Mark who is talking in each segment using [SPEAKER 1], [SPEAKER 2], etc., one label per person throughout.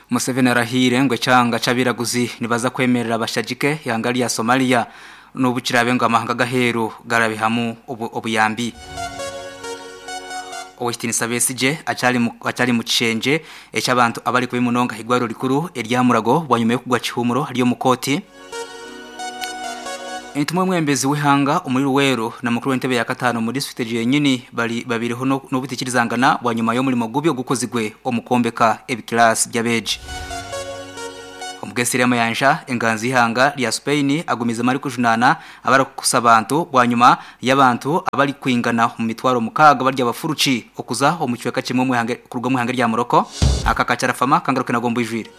[SPEAKER 1] Museveni arahiire ngu ekyanga ky'abairaguzi nibaza kwemerera bashagike eihanga rya Somalia n'obu kiraabe ngu amahanga ag'aheeru garabihamu obuyambi. Ow'ekitiinisa Besigye akyari mu kishengye eky'abantu abari kubi munonga ah'eirwariro rikuru erya Mulago bwanyima y'okugwa kihuumuro ari omu kooti. Entumwa y'omwebembezi w'eihanga omuri Luweero na mukuru w'entebe ya kataano omu disiturikiti egyo yenyini bari babaireho n'obutaikirizangana bwanyima y'omurimo gubi ogukozirwe omu kwombeka ebikiraasi by'abeegi. Omugesire Mayanja, enganzi y'eihanga rya Spain agumizemu arikujunaana abarikukusa abantu bwanyima y'abantu abarikwingana omu mitwaro mukaaga bari abafuruki okuza omu kicweka kimwe kuruga omu ihanga rya Morocco. Aka kakyarafama kangaruke nago mbwijwire.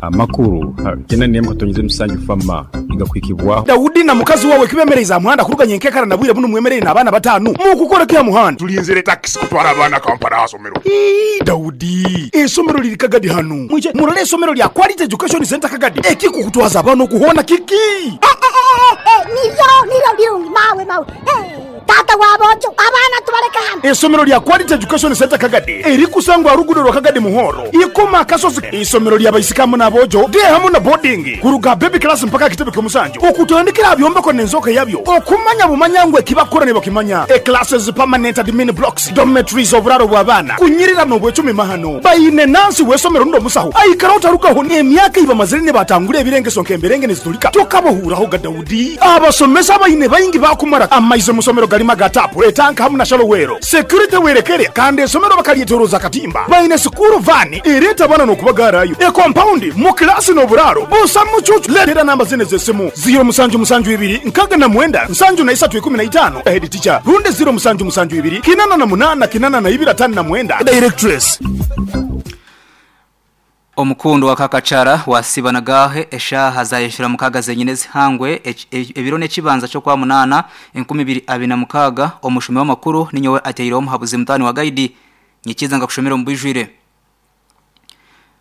[SPEAKER 2] Amakuru gena n'emwe katonyize musanju fama nigakuhikibwaho.
[SPEAKER 3] Daudi na mukazi wawe kibemereize aha muhanda kuruga nyenkekara na bwire bunu mwemereire n'abaana batanu. Mukukora ki aha muhanda?
[SPEAKER 4] Tulinzire takisi kutwara abaana Kampala aha somero.
[SPEAKER 3] Ii, Daudi, eisomero liri Kagadi hanu. Mwije murole eisomero lya Quality Education Centre Kagadi. Ekikukutwaza abaana oku hoona kiki?
[SPEAKER 5] Niryo, niryo birungi mawe, mawe. Taata wa boojo, abaana tubaleke hanu.
[SPEAKER 3] Eisomero lya Quality Education Centre Kagadi erikusangwa aha ruguudo rwa Kagadi Muhoro, Ikoma Akasozi. Eisomero lya baisiki hamu n'aboojo, day hamu na boarding, kuruga aha baby class mpaka aha kitebe ky'omusanju, okutandikira aha byombeko n'enzooka yabyo, okumanya bumanya ngu eki bakukora nibakimanya. E Classes, permanent admin blocks, dormitories, oburaaro bw'abaana, kunyirira n'obwecumi mahano. Baine nansi w'eisomero rundi omusaho aikara otarugaho n'emyaka ei bamazire nibatangura ebirengeso nk'emberenge niziturika tokabahuuraho ga Daudi. Abasomesa abaine baingi baakumara amaizi omu somero garimu aga taapu, etanka hamu na shalo weero. Security werekere kandi esomero bakaryetoroza akatimba. Baine sikuuru vaani ereeta abaana n'okubagaarayo. Ekompaundi mu kilaasi n'oburaaro busa mucuucu. Leetera namba zinu ez'esimu, ziiro musanju musanju ibiri nkaga na mwenda nsanju na isatu ikumi na itaano, Head teacher, rundi ziiro musanju musanju ibiri kinana na munaana kinana na ibiri atano na mwenda, Directress.
[SPEAKER 1] Omukundo wa Kakachara wasiiba nagaahe eshaaha zayeshura mukaaga zenyine ezihangwe ebiro n'ekibanza ky'okwamunaana 2026 omushomi w'amakuru ninyowe ateireho omuhabuzi mutaani wa Gaidi Nyikiza nkakushomera omu bwijwire.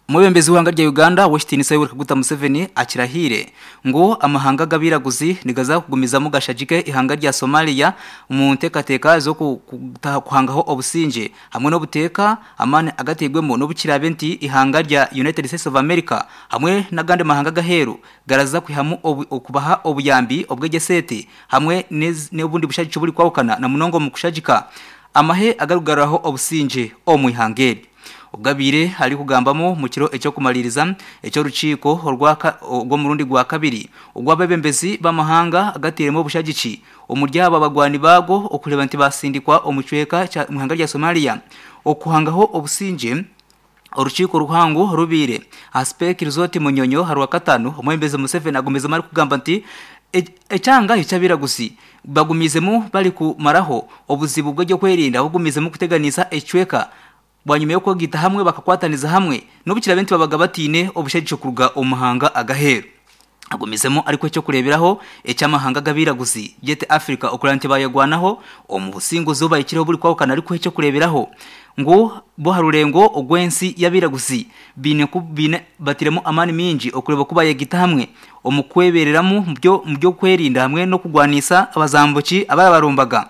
[SPEAKER 1] Omwebembezi w'eihanga rya Uganda ow'ekitiinisa Yoweri Kaguta Museveni akirahiire ngu amahanga ag'abairaguzi nigaza kugumizamu gashagike eihanga rya Somalia omu nteekateeka z'okuhangaho obusingye hamwe n'obuteeka amaani agateirwemu n'obu kiraabe nti eihanga rya United States of America hamwe n'agandi mahanga ag'aheeru garaza kwihamu okubaha obuyambi obw'egyesente hamwe n'obundi bushagiki oburikwahukana na munonga omu kushagika amahe agarikugaruraho obusingye omu ihanga eri. Obwo abaire arikugambamu omu kiro eky'okumariiriza eky'orukiiko orw'omurundi gwa kabiri ogw'abeebembezi b'amahanga agateiremu obushagiki omuri abo abagwani baago okureeba nti baasindikwa omu kicweka kya omu ihanga rya Somalia okuhangaho obusingye. Orukiiko ruhango rubaire aha Speke Resort Munyonyo aha Rwakataano, Omwebembezi Museveni agumizemu arikugamba nti ekyanga eky'abairaguzi bagumiizemu barikumaraho obuzibu bw'eby'okwerinda bugumiizemu kuteganisa ekicweka bwanyima y'okwegaita hamwe bakakwataniza hamwe n'obu kiraabe nti babaga bataine obushagiki kuruga omu mahanga ag'aheeru. Agumizemu arikuha eky'okureeberaho eky'amahanga g'abairaguzi gyete Africa okureba nti baayerwanaho omu businguzi obu bahikireho oburikwahukana arikuha eky'okureeberaho ngu bo aha rurengo orw'ensi y'abairaguzi baine ku baine batairemu amaani maingi okureeba oku bayegaita hamwe omu kwebeereramu omu by'okwerinda hamwe n'okurwanisa abazambuki abarabarumbaga.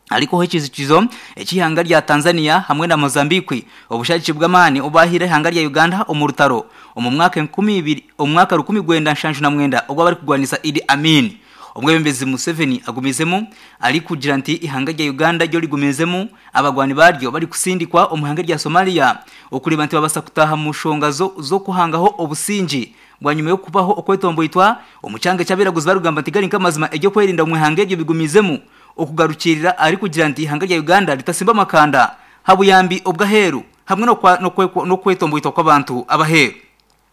[SPEAKER 1] Arikuha ekiijukizo eky'eihanga rya Tanzania hamwe na Mozambique obushagiki bw'amaani obu baahaire eihanga rya Uganda omu rutaro omu mwaka enkumi ibiri omu mwaka 1979 ogw'abarikurwanisa Idi Amin. Omwebembezi Museveni agumizemu arikugira nti eihanga rya Uganda ryo rigumizemu abarwani baryo barikusindikwa omu ihanga rya Somalia okureeba nti babaasa kutaaha omu nshonga z'okuhangaho obusingye Bwanyima y'okubaho okwetomboitwa omu kyanga eky'abairaguzi barikugamba nti gari nk'amazima eby'okwerinda omu ihanga eryo bigumizemu okugarukiirira arikugira nti eihanga rya Uganda ritasimba amakanda habuyambi obw'aheeru hamwe n'okwetomboitwa kw'abantu ab'aheeru.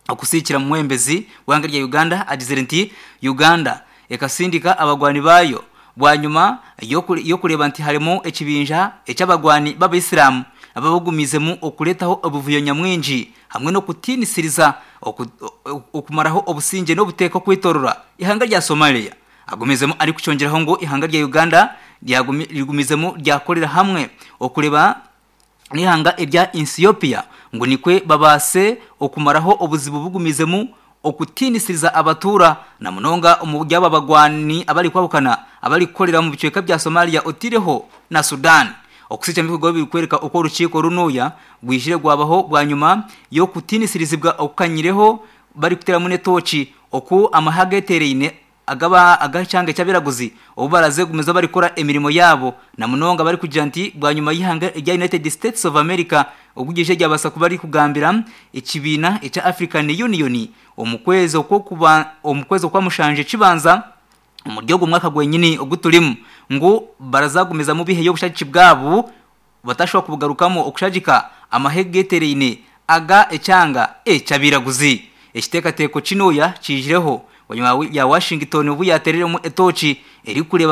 [SPEAKER 1] Okusiikira Omwebembezi w'eihanga rya Uganda agizire nti Uganda ekasindika abagwani baayo bwanyima y'okureeba nti harimu ekibinja eky'abagwani b'abaisiramu ababagumiizemu okureetaho obuvuyo nyamwingi hamwe n'okutiinisiriza okumaraho obusingye n'obuteeka okwetorora eihanga rya Somalia. Agumizemu arikukyongyeraho ngu eihanga rya Uganda rigumizemu ryakorera hamwe okureba n'eihanga erya Ethiopia ngu nikwe babaase okumaraho obuzibu bugumizemu okutiinisiriza abatuura na munonga omu ry'aba bagwani abarikwahukana abarikukorera omu bicweka bya Somalia oteireho na Sudan. Okusicha ebikorwa birikwereka oku orukiiko runuya rwijire rwabaho bwanyima y'okutiinisirizibwa okukanyireho barikuteramu n'etooki oku amahe agetereine agaba ag'ekyanga eky'abiraguzi obu baraze kugumiza barikukora emirimo yaabo na munonga barikugira nti bwanyima y'eihanga erya United States of America ogu ryaija ryabaasa kuba ririkugambira ekibiina ekya African Union omu kwezi okw'okuba omu kwezi okwa mushanju ekibanza omuri ogu mwaka gwenyini ogu turimu ngu barazagumizamu biheyo obushagiki bwabo batashobora kubugarukamu okushagika amahe getereine aga ekyanga eky'abiraguzi. Ekiteekateeko kinuya kiijireho bwanyima ya Washington obu yatereremu etooki erikureeba.